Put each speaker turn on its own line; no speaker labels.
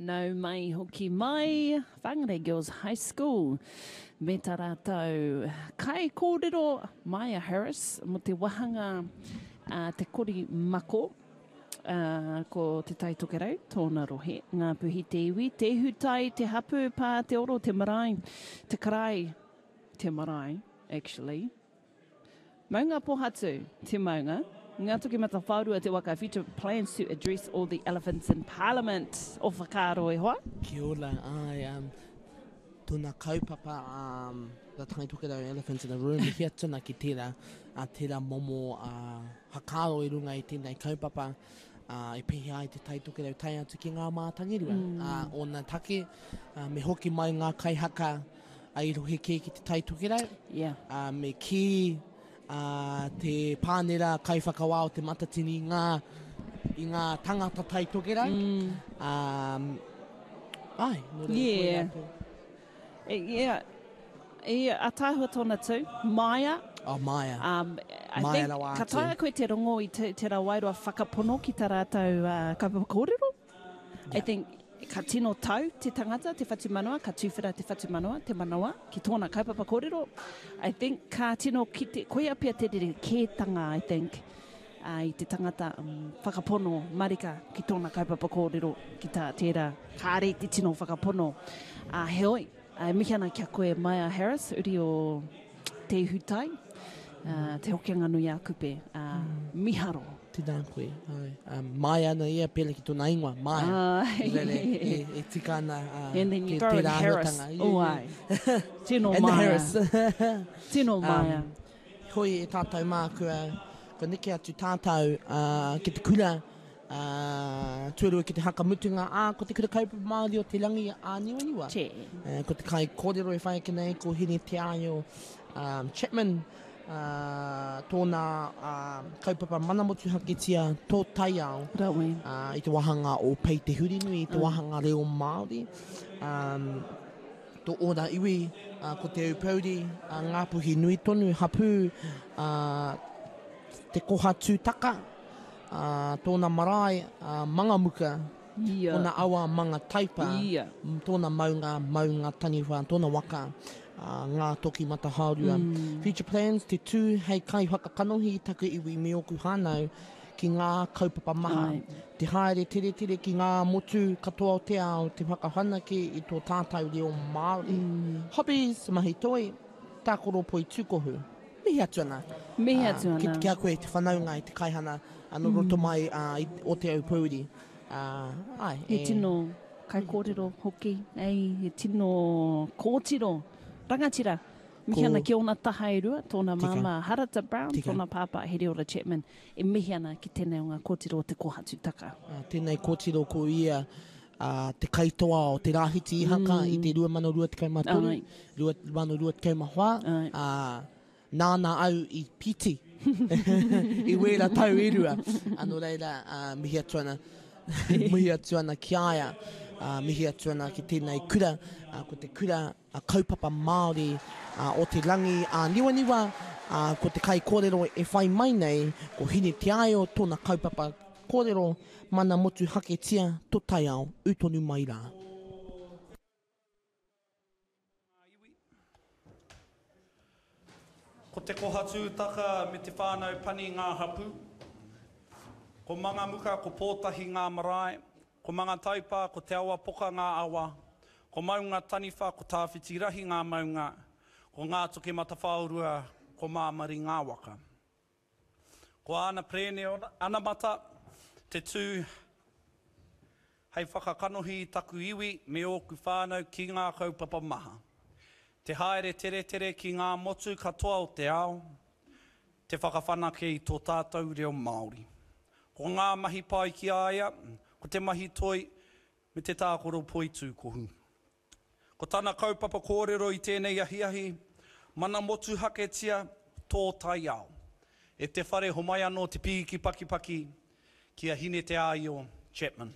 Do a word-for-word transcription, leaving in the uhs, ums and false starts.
Nau mai hoki mai, Whangarei Girls High School, me tā rātou kai kōrero Maya Harris mo te wahanga uh, Te Kori Mako, uh, ko Te Tai Tokerau, tōna rohe, Ngāpuhi te iwi, Te Hutai, Te Hapu, Pā, Te Oro, Te Marae, Te Karai, Te Marae, actually. Maunga Pohatu, te maunga. Ngā Matawhaorua te waka future plans to address all the elephants in Parliament. O whakaaro e hoa.
Kia ora, ai, um, tōna kaupapa, um, the Tai Tokerau Elephants in the Room, hia tuna ki tērā, a tērā momo uh, hakaro i runga i tēnei kaupapa, uh, i pehi ai te Tai Tokerau tae atu ki ngā mātangirua. Mm. Uh, ōna take, uh, me hoki mai ngā kaihaka a i rohe kē ki te Tai Tokerau.
Yeah.
Uh, me ki uh, te pānera kaiwhakawā o te Matatini i ngā, i ngā tangata Tai Tokerau.
Mm.
Um, ai, nō reira
Yeah.
koirā te-
E, yeah. E, a tāhua tōna tū, Maia.
Oh, Maia.
Um, I
Maia
think,
rawa
ka
atu.
taea koe te rongo i te, te wairua whakapono ki tā rātou uh, kaupapa kōrero. I think ka tino tau te tangata, te whatumanawa, ka tūwhera te whatumanawa, te manawa, ki tōna kaupapa kōrero. I think ka tino kite, koia pia te rere kētanga, I think, uh, i te tangata um, whakapono marika ki tōna kaupapa kōrero, ki tā tērā, kāre te tino whakapono. Uh, heoi, uh, mihi ana kia koe Maya Harris, uri o Te Ihutai, uh, te Hokianga nui a Kupe, uh, mm. miharo.
Tēnā koe, ai. Um, Maia ana ia, pēle ki tōna ingoa, Maia.
Ai.
Rere, e, e tika ana uh,
And then you
te,
throw in
tērā
Harris.
āhuatanga.
Oh, ai. Tino
And the
Maia.
Harris.
Tino Maia.
Um, hoi e tātou mā, kua, kua neke atu tātou uh, ki te kura, uh, tuarua ki te haka mutunga, ā, ko te kura kaupapa Māori o te rangi a Niwaniwa.
Che.
Uh, ko te kai kōrero e whai ake nei, ko Hine Te Aio um, Chapman, uh, tōna uh, kaupapa mana motuhaketia tō taiao.
Rawe.
Uh, i te wāhanga o Pei Te Hurinui, i te wāhanga reo Māori. Um, tō ōna iwi, uh, ko Te Aupouri, uh, Ngāpuhi nui tonu, hapū, uh, te koha tūtaka, uh, tōna marae, uh, Mangamuka,
Ia.
tōna awa Manga Taipa,
Ia.
tōna maunga, maunga taniwha, tōna waka, uh, ngā toki matahaorua.
Mm.
Future plans, te tū hei kai whakakanohi i taku iwi me ōku whānau ki ngā kaupapa maha.
Ai.
Te haere tere tere ki ngā motu katoa o te ao, te whakawhanake i tō tātou reo Māori.
Mm.
Hobbies, mahi toi, tākoro poi tūkohu. Mihi atu ana.
Mihi
Ah,
atu ana.
Ki, ki a koe te whanaunga i te kaihana anō roto mai uh, i, o Te Aupouri. Uh, ai,
He
e,
tino kaikōrero hoki, ei, he tino kōtiro, rangatira. Mihi
Ko-
ana ki ōna taha e rua, tōna
Tika.
māmā Harata Brown,
Tika.
tōna pāpā Heriora Chapman, e mihi ana ki tēnei o ngā kōtiro o te kohatu taka.
Uh, tēnei kōtiro ko ia uh, te kaitoa o te Rāhiti i haka mm. i te rua mano rua tekau mā toru,
Ai.
rua mano rua tekau mā whā.
Ai.
Uh, nāna au i piti i wēra tau e rua. Anō reira, uh, mihi atu ana, mihi atu ana ki a ia, uh, mihi atu ana ki tēnei kura, uh, ko te kura uh, kaupapa Māori uh, o te rangi a Niwaniwa, uh, ko te kai kōrero e whai mai nei, ko Hine Te Aio, tōna kaupapa kōrero, mana motu haketia, tō taiao, ū tonu mai rā.
Ko te kohatūtaka me te whānau pani ngā hapu. Ko Mangamuka, ko Pōtahi ngā marae. Ko Mangataipa, ko Te Awa Poka ngā awa. Ko Maunga Taniwha, ko Tāwhiti Rahi ngā maunga. Ko Ngā Toke Matawhaorua, ko Māmari ngā waka. Ko Ana Prēne Anamata, te tū hei whakakanohi i taku iwi me ōku whānau ki ngā kaupapa maha. Te haere tere tere ki ngā motu katoa o te ao, te whakawhanake i tō tātou reo Māori. Ko ngā mahi pai ki a ia, ko te mahi toi me te tākoro poi tūkohu. Ko tana kaupapa kōrero i tēnei ahiahi, mana motu haketia tō taiao. E te whare homai anō te pīki pakipaki ki a Hine Te Aio Chapman.